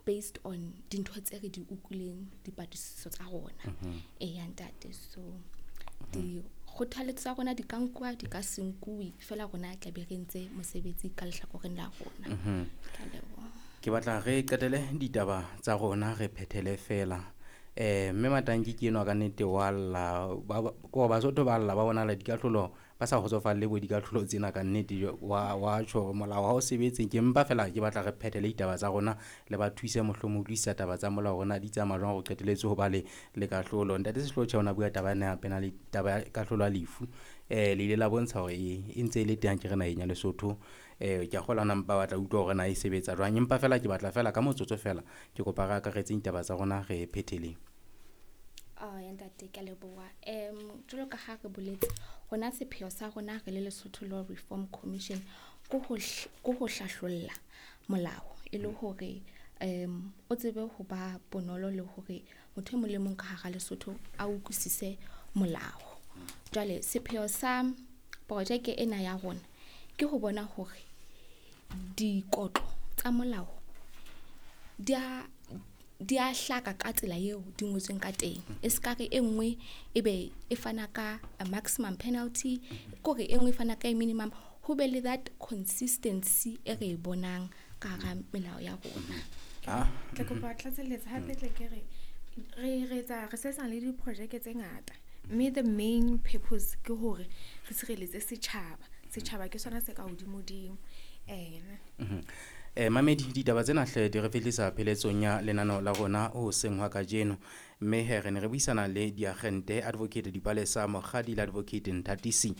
Based on dintho tse re di utlwileng dipatlisiso tsa rona. Eya ntate, so dikgothaletso tsa rona di ka nkuwa, di ka se nkuwe, feela rona tla be re entse mosebetsi ka lehlakoreng la rona. Ke a leboha. Ke batla re qetele ditaba tsa rona, re phethele fela. Mme Matanki ke enwa ka nnete wa lla, ko Basotho ba lla, ba bonahala dikahlolo ba sa kgotsofalle bo dikahlolo tsena ka nnete. Wa tjho hore molao ha o sebetse. Ke mpa fela ke batla re phethele ditaba tsa rona, le ba thuse mohlomong utlwisisa taba tsa molao hore na di tsamaya jwang hore qetelletse ho ba le kahlolo. Ntate Sehloho tjhe, o na bua taba ena ya penalty, taba ya kahlolo ya lefu. Le ile la bontsha hore e ntse e le teng akere naheng ya Lesotho. Ke a kgolwa na mpa batla utlwa hore na e sebetsa jwang. Empa fela ke batla fela ka motsotso fela, ke kopa re akaretseng ditaba tsa rona re phetheleng. Oh, ya ntate, ke a leboha. Jwalo ka ha re boletse, rona sepheo sa rona re le Lesotho Law Reform Commission ke ho hlahlolla molao e le hore o tsebe ho ba bonolo le hore motho e mong le mong ka hara Lesotho a utlwisise molao. Jwale sepheo sa projeke ena ya rona ke ho bona hore dikotlo tsa molao di a hlaka ka tsela eo di ngotsweng ka teng. E ska re e nngwe e be e fana ka a maximum penalty, kore e nngwe e fana ka e minimum, ho be le that consistency e re e bonang ka hara melao ya rona. Ke kopa tlatselletsa hape, tle ke re re etsa re sebetsana le diprojeke tse ngata, mme the main purpose ke hore re sireletse setjhaba. Setjhaba ke sona se ka hodimodimo ene. Mamedi, ditaba tsena hle di re fihlisa pheletsong ya lenaneo la rona hoseng hwa kajeno. Mme he re ne re buisana le diagente Advocate Dipalesa Mokgadi le Advocate Nthatisi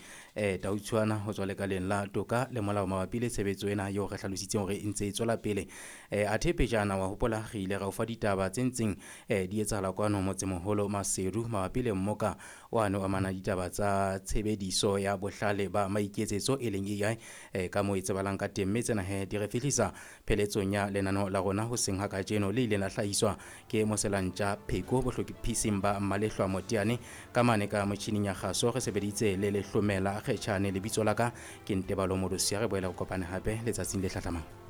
Tautshwana ho tswa lekaleng la toka le molao mabapi le tshebetso ena eo re hlalositseng hore e ntse e tswela pele. Athe pejana wa hopola re ile ra o fa ditaba tse ntseng di etsahala kwano motsemoholo Maseru mabapi le mmoka wane o amana ditaba tsa tshebediso ya bohlale ba maiketsetso, e leng AI ka moo e tsebahalang ka teng. Mme tsena he di re fihlisa pheletsong ya lenaneo la rona hoseng ha kajeno, le ileng la hlahiswa ke Moselantja Pheko bohlophising ba Malehlwa Moteane. Ka mane ka motjhining ya kgaso re sebeditse le Lehlomela Kgetjhane. Lebitso la ka ke Ntebalo Modosia. Re boela re kopane hape letsatsing le hlahlamang.